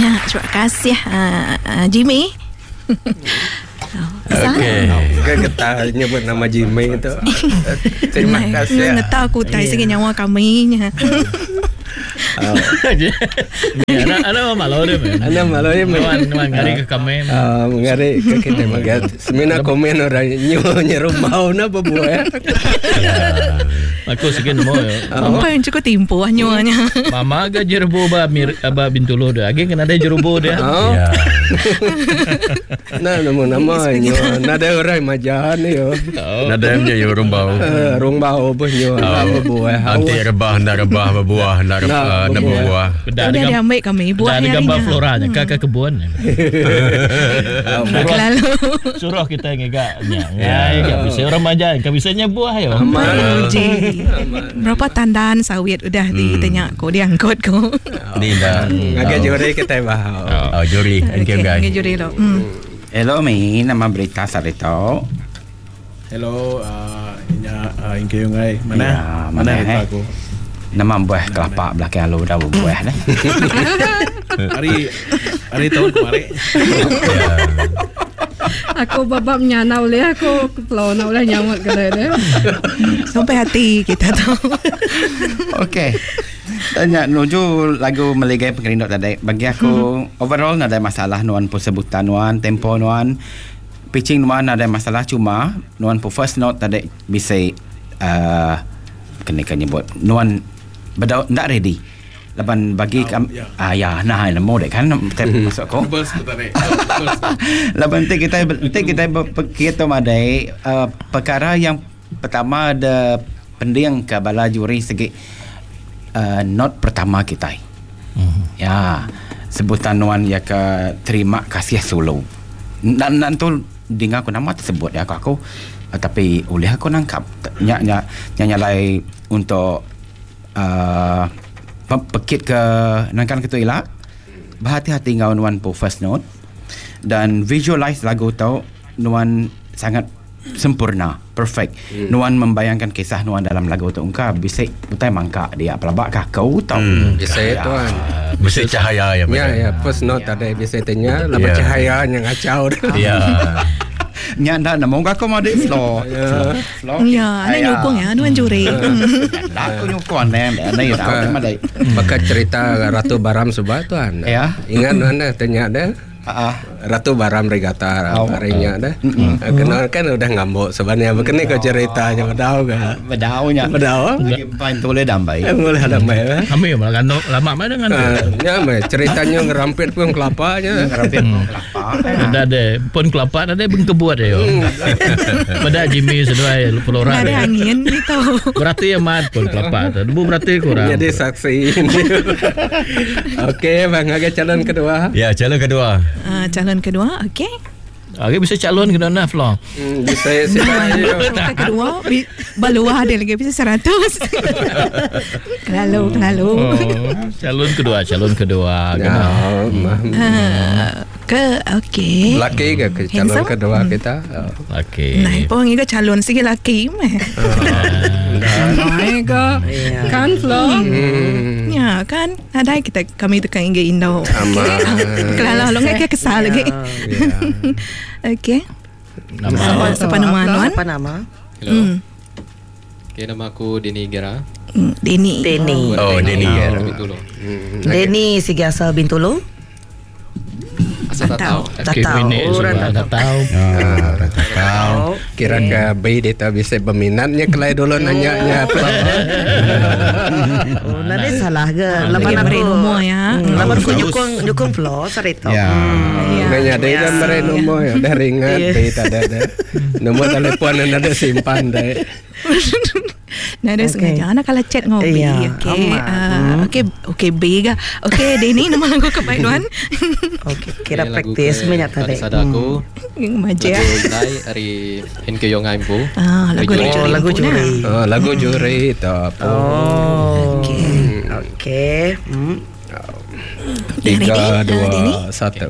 Ya, terima kasih uh, uh, Jimmy. Okey. Ke getah nyebut nama Jimmy tu. Terima kasih. Ngetau aku utai sigi nyawa kami nya. Ana ana malu dia. Ana malu dia. Nuan nuan ngari ke kami. Ah, ngari ke kita magat. Semina komen orang nyu nyerumau na bebuah. Aku sigi nemu. Apa yang cukup timpuh nyuanya. Mama ga jerebu ba mir ba Bintulu dia. Agi kena ada jerebu dia. Oh. Ya. Nah, nama nama nyu. Nada orang majan yo. Nadai punya yo rumbau. Eh, Rumbau pun nyu na bebuah. Anti rebah nak rebah berbuah nak rebah nak berbuah. Dah Udah ada diambil kami dah buah ada hari gambar nya. flora nya ke ke kebun. Suruh Lalu suruh kita ngiga nya. Ngai ga bisa orang maja, ga bisa nya buah yo. Uji. Berapa tandan sawit udah ditanya ko diangkut ko. Ni dah. Ngagai juri kita bahau. Oh, juri. Thank you guys. Okay, juri lo. Hmm. Hello mi, nama berita sarito. Hello, uh, inya uh, Ingke Yungai. Mana? Ya, mana mana, itu eh? aku? Nama buah kelapa belakang lu dah buah dah. Hari hari tahun kemarin. Ya. Aku babak nyana oleh aku kepulauan oleh nyamuk ke dia. Sampai hati kita tu. Okey. Tanya nuju lagu Meligai Pengerindu tadi. Bagi aku overall nada masalah nuan pun sebutan nuan, tempo nuan, pitching nuan nada masalah cuma nuan pun first note tadi bisa uh, kena kan nyebut nuan bedau ndak ready. Laban bagi Ah, kam, ya. ah ya nah nemu dek kan tep masuk ko. Bers tu tadi. Laban nanti kita nanti kita berfikir tu madai uh, perkara yang pertama ada pending ke bala juri segi uh, not pertama kita. Mm. Ya, sebutan nuan ya ke terima kasih solo. Dan nan tu dengar aku nama tersebut ya aku aku uh, tapi oleh aku nangkap nya nya nya nyalai untuk uh, pekit ke nangkan ketu ilak berhati-hati ngau nuan po first note dan visualize lagu tau nuan sangat sempurna perfect hmm. nuan membayangkan kisah nuan dalam lagu tu engkau bisa utai mangka dia pelabak kah kau tau hmm. Bisa tuan. Bisa cahaya ya. Ya ya first note tadi bisa tanya lama Ya. cahaya yang ngacau. Ya. nya ndak nemu aku mau di floor Ya. floor Ya, ana nyukung ya, nuan juri. Dah aku nyukung ne ne ya tahu Baka, madai baka cerita Ratu Baram subah tuan. Ya. Ingat nuan dah tanya dah. ah Ratu Baram Regata Oh. harinya dah. Kenal kan udah ngambuk sebenarnya. Begini kau ceritanya bedau ke? bedaunya Bedau. lagi pain tole dambai Eh, boleh ada mai. eh? Kami malah kan lama mana dengan Ah, Ya, mai ceritanya ngerampit pun kelapanya. ngerapit kelapa Ada ada pun kelapa ada bengkebuat ya. Pada Jimmy seduai flora. Ada angin itu. Berarti amat pun kelapa tu. Debu berarti kurang. Jadi saksi ini. Okey, bang, agak calon kedua. Ya, calon kedua. Ah, calon kedua, okey. Okey bisa calon kena nah Flo. Hmm, bisa sila. Calon kedua, bi- baluah ada lagi bisa 100. Kelalu, kelalu. Oh, calon kedua, calon kedua. Ya, Kena. mah. Ah, ke okey. Laki ke ke calon Handsome? kedua kita. Oh. Okey. Nah, pun ingat calon sige laki meh. My God. Kan Flo? Hmm. Ya kan, ada kita kami tukang ingat Indo. Aman. Kelalu lo nggak kesal lagi. Ya. Okey. Nama Siapa siapa nama Nuan? Apa nama? Hello. Hmm. Okay, nama aku Dini Gera. Hmm, Denny. Denny. Oh, Denny Gera. Bintulu. Denny sigi asal Bintulu. Asal tak tahu. Tak Okey, tahu. ini Orang sudah tak tak tahu. Ah, tak tahu. Kira ke B dia tak bisa berminatnya kelai dulu nanya nya apa. Oh, nanti salah ke? Lapan Lagi aku. beri nombor ya. Lapan aku Bagus. nyukung nyukung Flo sarito. Ya. Ya. Nanya dia dah beri nombor ya, dah ringan B tak ada dah. Nombor telefon yang ada simpan dah. Nah, ada Okey. sengaja anak kalau chat ngopi. Iya, Okey. aman. Ah, okey, okey B ga. Okey, Denny nama lagu kebaik Nuan. Okey, kira Okay, lagu praktis ke minyak tadi. Tadi sada aku. Yang maja. Lagu Indai dari NK Yongai Empu. Ah, lagu Dari dari Oh, Juri lagu Empu nah. juri. Oh, lagu juri tu apa. Oh. Okey. Okey. Hmm. Tiga, Ready? Ah, Denny? dua, satu.